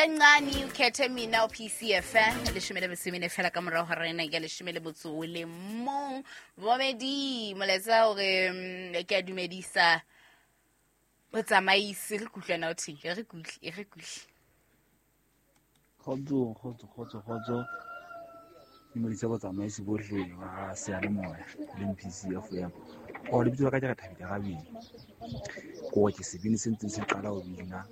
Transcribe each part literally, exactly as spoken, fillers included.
Ka nqane o khethe mina o P C F leshome le metso e mene fela ka morao ga rena ke leshome le motso o le mong. Momedi molaetsa hore mm, ke a dumedisa botsamaisi, re kutlwana o theng, re kutle, re kutle. Kgotso, kgotso, kgotso, kgotso. Dumedisa botsamaisi bohle ba seyalemoya le M P C F M. O lebitso la ka ke re Thabile Rabedi. Ko ke sebini se ntseng se qala ho bina.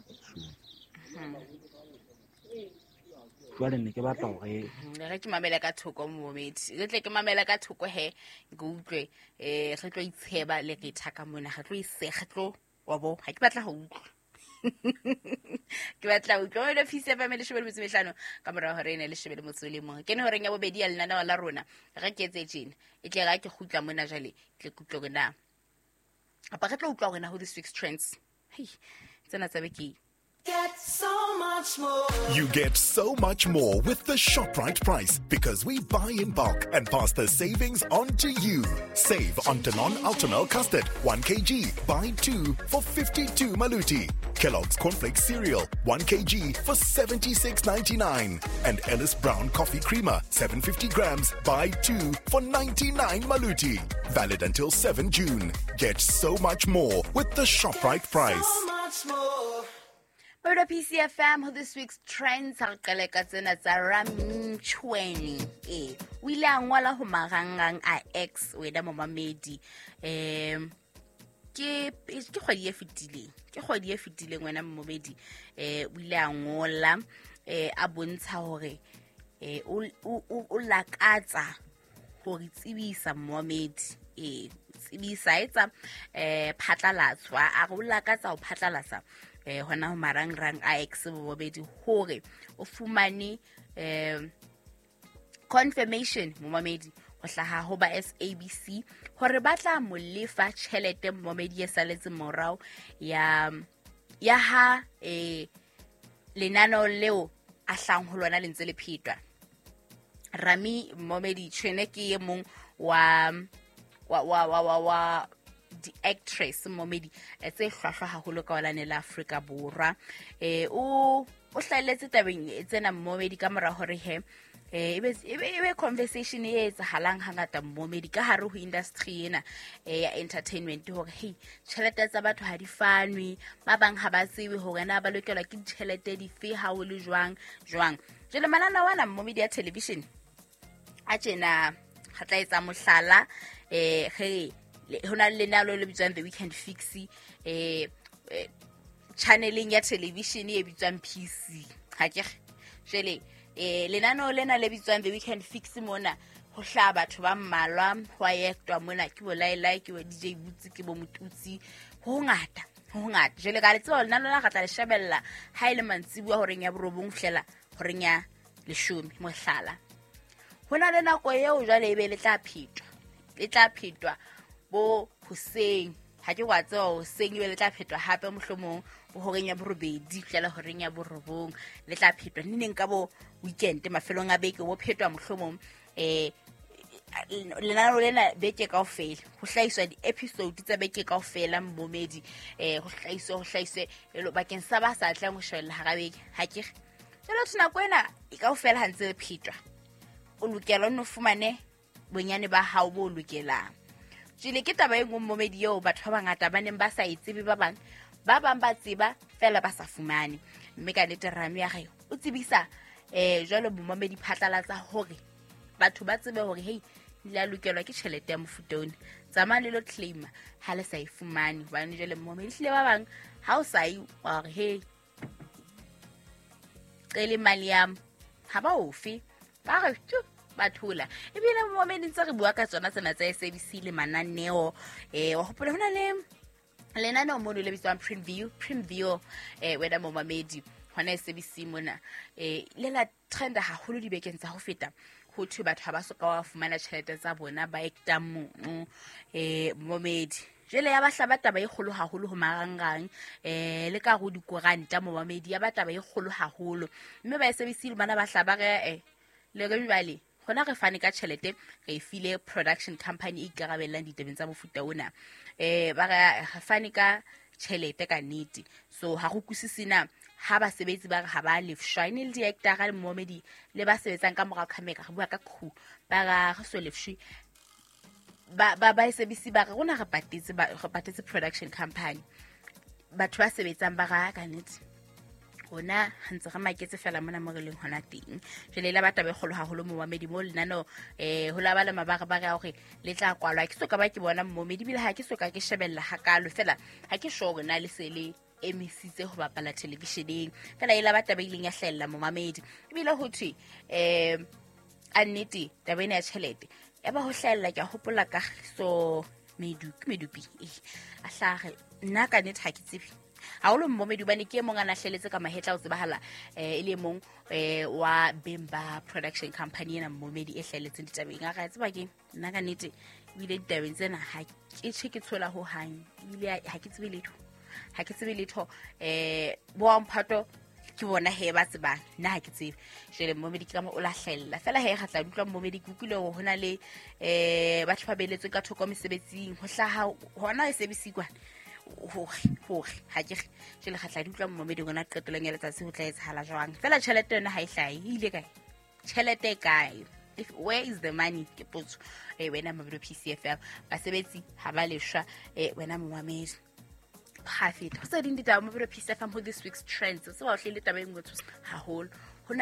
Jwale ne ke batla hore Re ke mamele ka thoko, momedi, re tle ke mamele ka thoko he ke utlwe. um re tlo itsheba le re thaka mona, re tlo ise, re tlo wa bo ha ke batla ho utlwa, ke batla ho utlwa wena. P C F M, leshome le metso e mehlano ka morao hore ene leshome le motso o le mong, ke ne horeng ya bobedi ya lenaneo la rona. Re ke etse tjena, e tle ga ke kgutla mona jwale, tle ke utlwe hore na kapa re tlo utlwa hore na ho this week's trends, hei, tsena tsa beke. Get so much more. You get so much more with the ShopRite price because we buy in bulk and pass the savings on to you. Save on Danone Ultimel Custard, one kilogram, buy two for fifty-two Maluti. Kellogg's Cornflakes Cereal, one kilogram for seventy-six ninety-nine. And Ellis Brown Coffee Creamer, seven hundred fifty grams, buy two for ninety-nine Maluti. Valid until seven June. Get so much more with the ShopRite price. So much more. Babelo P C F M, ho this week's trends, ha re qale ka tsena tsa Ramchweni. E o ile a ngola ho marangrang a X, wena momamedi, um ke ke kgwedi e fetileng, ke kgwedi e fetileng, wena momamedi. eh o ile a ngola eh a bontsha hore eh o o o lakatsa hore tsebisa momamedi, eh tsebisa etsa eh phatlalatswa, a re o lakatsa ho phatlalatsa eh hona ho marangrang a X, momamedi, hore o fumane eh confirmation, momamedi, ho hlaha ho ba S A B C hore ba tla mo lefa tjhelete, momamedi, e saletse morao ya ya ha eh lenaneo leo a hlang ho lona le ntse le phetwa. Rami Momedi Tshwene ke e mong wa wa wa wa wa, wa di-actress, momedi, eh, tse hlwahlwa haholo ka holane la Afrika Borwa. eh o o hlahelletse tabeng tsena, momedi, ka mora hore he eh ebe ebe ebe conversation e etsahalang hangata, momedi, ka hare ho industry ena eh, ya entertainment, hore hey, tjhelete tsa batho ha di fanwe, ba bang ha ba tsebe hore na ba lokelwa ke ditjhelete dife, ha o le jwang jwang. Jwale mananeo ana, momedi, ya television a tjena, re tla etsa mohlala, eh ge ho na le lenalo le bitswang The Weekend Fix eh eh, channeleng ya television e bitswang P C, ha ke re? Jwale eh lenaneo lena le bitswang The Weekend Fix, mona ho hlaha batho ba mmalwa, ho a ektwa mona, ke bo Lailai, ke bo D J Butsi, ke bo Motutsi, ho hongata, ho hongata. Jwale ka le tseba lenaneo la re tla le shebella ha e le mantsibuya horeng ya borobong ho fihlela horeng ya leshome, mohlala. Ho na le nako eo jwale ebe le tla phetwa, le tla phetwa bo hoseng, ha ke wa tseba, hoseng ebe le tla phetwa hape, mohlomong bo horeng ya borobedi fihlela horeng ya borobong. Le tla phetwa neneng ka bo weekend, mafelong a beke, bo phetwa mohlomong eh lenaneo lena beke kaofela, ho hlahiswa di-episode tsa beke kaofela, momedi, eh ho hlahiswe ho hlahiswe elo bakeng sa ba sa tlang ho shebella hara beke, ha ke re? Jwale ho nako ena e kaofela ha ntse le phetwa, o lokela o nno fumane bonyane ba hao bo lokelang. Jwale ke taba e nngwe, momedi, eo batho ba bangata ba neng ba sa e tsebe, ba bang ba bang ba tseba fela ba sa fumane. Mme ka nnete Rami ya re o tsebisa eh jwale momamedi phatlalatsa hore batho ba tsebe hore hei, le a lokelwa ke tjhelete ya mofuta ona, tsamaya le lo claima ha le sa e fumane, hobane jwale, momedi, hlile ba bang ha o sa ye wa hore hei, cele imali yam, ha ba ofe, ba re tu, ba thola. Ebile momedi, ntse re bua ka tsona tsena tsa S A B C le mananeo, eh wa hopola hona le lenaneo mono le bitswang Preview, Preview, eh wena momamedi, hona S A B C mona, eh le la trenda haholo dibekeng tsa ho feta, ho thwe batho ha ba soka ba fumana tjhelete tsa bona ba actang mono, eh momedi. Jwale ya ba hlaba taba e kgolo haholo ho marangrang eh le ka ho dikoranta, momamedi, ya ba taba e kgolo haholo. Mme ba S A B C le bana ba hlaba re eh le re jwale hona re fane ka tjhelete, re e file production company e ikarabellang ditabeng tsa mofuta ona, eh ba re re fane ka tjhelete ka nnete, so ha go kwisise na Ha basebetsi ba re ha ba lefshwa, e ne le di-actor-a le momedi le ba sebetsang ka morao camera, re bua ka crew, ba ra re so lefshwe. Ba ba ba S A B C ba re rona re patetse ba re patetse production company. Batho ba sebetsang ba ra ka nnete rona re ntse re maketse fela mona mo re leng hona teng. Jwale e la ba taba e kgolo haholo momamedi mo lenaneo, eh, ho la ba le mabarebare a hore le tla kwalwa. Ha ke soka ba ke bona momedi, ebile ha ke soka ke shebella hakalo, fela ha ke sure hore na le se le emisitse ho bapala televisheneng. Fela e la ba taba e ileng ya hlahella momamedi. Ebile ho thwe, eh, a nnete taba ena ya tjhelete ya ba ho hlahella, ke a hopola ka so Medupi, Medupi, eh, a hlaha nna ka nnete ha ke tsebe haholo momedi hobane ke e mong a na hleletse ka mahetla o tsebahala, eh, e le mong, eh, wa beng ba production company ena momedi e hlahelletseng ditabeng. A re tseba ke nna ka nnete ebile ditabeng tsena ha ke tjhe ke tshola ho hang, ebile ha ke tsebe letho, ha ke tsebe letho. Eh, bo wa mphato ke bona he ba tsebang, nna ha ke tsebe. Jwale momedi ke ka mo o la hlahella fela he re tla utlwa momedi. Ke utlwile hore hona le, eh, batho ba beletsweng ka thoko mesebetsing ho hlaha hona S A B C kwana hore, hore ha ke re jwale re tla utlwa momedi rona qetellong ya letsatsi ho tla etsahala jwang. Fela tjhelete yona ha e hlahe, e ile kae tjhelete e kae? If, where is the money? Ke potso. Eh, wena Mabelo P C F M, basebetsi ha ba leshwa, eh, wena momamedi ha feta. Ho tse ding ditaba Mabelo P C F M ho this week's trends. O tseba o hlile taba e nngwe tshosa haholo.